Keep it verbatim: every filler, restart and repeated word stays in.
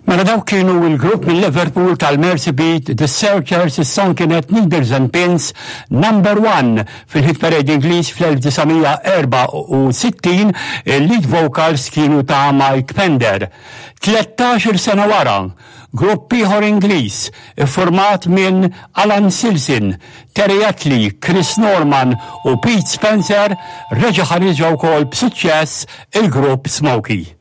Mela dawk kienu il-grupp minn Liverpool tal-Mersey Beat, The Searchers, is-song kienet Needles and Pins, number one fil-hit parade Ingliż fl-elf disa' mija erbgħa u sittin, il-lead vocals kienu ta' Mike Pender. Tlettax-il sena wara, grupp ieħor Ingliż iffurmat minn Alan Silson, Terry Attlee, Chris Norman u Pete Spencer reġa' ħareġ wkoll b'suċċess, il-grupp Smokie.